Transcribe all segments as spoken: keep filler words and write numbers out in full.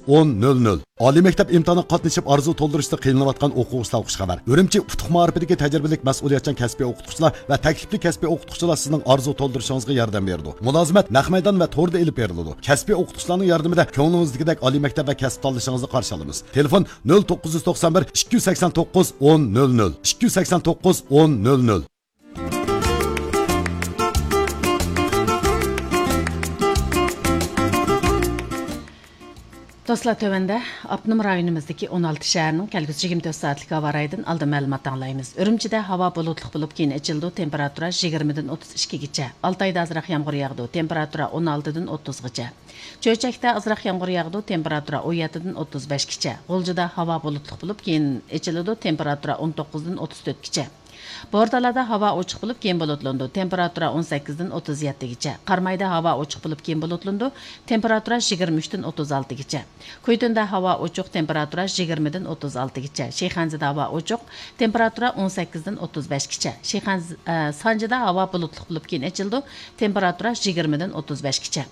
ئون نۆل نۆل. ئالىي مەكتەپ ئىمتىھانىغا قاتنىشىپ ئارزۇ تولدۇرۇشتا قىينىلىۋاتقان ئوقۇغۇچىلارغا خۇش خەۋەر. ئۈرۈمچى ئۇتۇق مائارىپىدىكى تەجرىبىلىك مەسئۇلىيەتچان كەسپىي ئوقۇتقۇچىلار ۋە تەكلىپلىك كەسپىي ئوقۇتقۇچىلار سىزنىڭ ئارزۇ تولدۇرۇشىڭىزغا ياردەم بېرىدۇ. مۇلازىمەت نەق مەيدان ۋە توردا ئېلىپ بېرىلىدۇ. كەسپىي ئوقۇتقۇچىلارنىڭ ياردىمىدە كۆڭلىڭىزدىكىدەك ئالىي مەكتەپ ۋە كەسىپ تاللىشىڭىزنى قارشى ئالىمىز. تېلېفون: نۆل توققۇز يۈز توقسان بىر، ئىككى يۈز سەكسەن توققۇز، ئون نۆل نۆل، ئىككى يۈز سەكسەن توققۇز، ئون نۆل نۆل. دوستلار، تۆۋەندە ئاپتونوم رايونىمىزدىكى ئون ئالتە شەھەرنىڭ كەلگۈسى يىگىرمە تۆت سائەتلىك ھاۋا رايىدىن ئالدىن مەلۇمات ئاڭلايمىز. ئۈرۈمچىدە ھاۋا بۇلۇتلۇق بولۇپ، كېيىن ئېچىلىدۇ، تېمپېراتۇرا يىگىرمىدىن ئوتتۇز ئىككىگىچە. ئالتايدا ئازراق يامغۇر ياغىدۇ، تېمپېراتۇرا ئون ئالتىدىن ئوتتۇزغىچە. چۆچەكتە ئازراق يامغۇر ياغىدۇ، تېمپېراتۇرا ئون يەتتىدىن ئوتتۇز بەشكىچە. غۇلجىدا ھاۋا بۇلۇتلۇق بولۇپ، كېيىن ئېچىلىدۇ، تېمپېراتۇرا ئون توققۇزدىن ئوتتۇز تۆتكىچە. بورتالادا ھاۋا ئوچۇق بولۇپ، كېيىن بۇلۇتلىنىدۇ، تېمپېراتۇرا ئون سەككىزدىن ئوتتۇز يەتتىگىچە. قارامايدا ھاۋا ئوچۇق بولۇپ، كېيىن بۇلۇتلىنىدۇ، تېمپېراتۇرا يىگىرمە ئۈچتىن ئوتتۇز ئالتىگىچە. كۇيتۇندا ھاۋا ئوچۇق، تېمپېراتۇرا يىگىرمىدىن ئوتتۇز ئالتىگىچە. شىخەنزىدە ھاۋا ئوچۇق، تېمپېراتۇرا ئون سەككىزدىن ئوتتۇز بەشكىچە. شىخەنز-، ئە، سانجىدا ھاۋا بۇلۇتلۇق بولۇپ، كېيىن ئېچىلىدۇ، تېمپېراتۇرا يىگىرمىدىن ئوتتۇز بەشكىچە.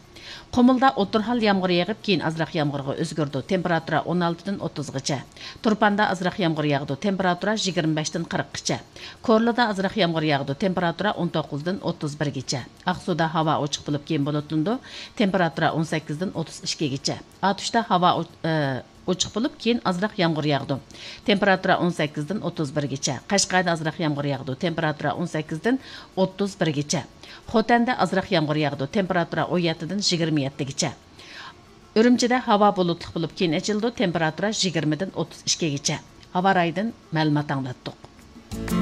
قۇمۇلدا ئوتتۇرا ھال يامغۇر يېغىپ، كېيىن ئازراق يامغۇرغا ئۆزگىرىدۇ، تېمپېراتۇرا ئون ئالتىدىن ئوتتۇزغىچە. تۇرپاندا ئازراق يامغۇر ياغىدۇ، تېمپېراتۇرا يىگىرمە بەشتىن قىرىققىچە. كورلىدا ئازراق يامغۇر ياغىدۇ، تېمپېراتۇرا ئون توققۇزدىن ئوتتۇز بىرگىچە. ئاقسۇدا ھاۋا ئوچۇق بولۇپ، كېيىن بۇلۇتلىنىدۇ، تېمپېراتۇرا ئون سەككىزدىن ئوتتۇز ئىككىگىچە. ئاتۇشتا ھاۋا ئو-، ئە، ئوچۇق بولۇپ، كېيىن ئازراق يامغۇر ياغىدۇ، تېمپېراتۇرا ئون سەككىزدىن ئوتتۇز بىرگىچە. قەشقەردە ئازراق يامغۇر ياغىدۇ، تېمپېراتۇرا ئون سەككىزدىن ئوتتۇز بىرگىچە. خوتەندە ئازراق يامغۇر ياغىدۇ، تېمپېراتۇرا ئون يەتتىدىن يىگىرمە يەتتىگىچە. ئۈرۈمچىدە ھاۋا بۇلۇتلۇق بولۇپ، كېيىن ئېچىلىدۇ، تېمپېراتۇرا يىگىرمىدىن ئوتتۇز ئىككىگىچە. ھاۋا رايىدىن مەلۇمات ئاڭلاتتۇق.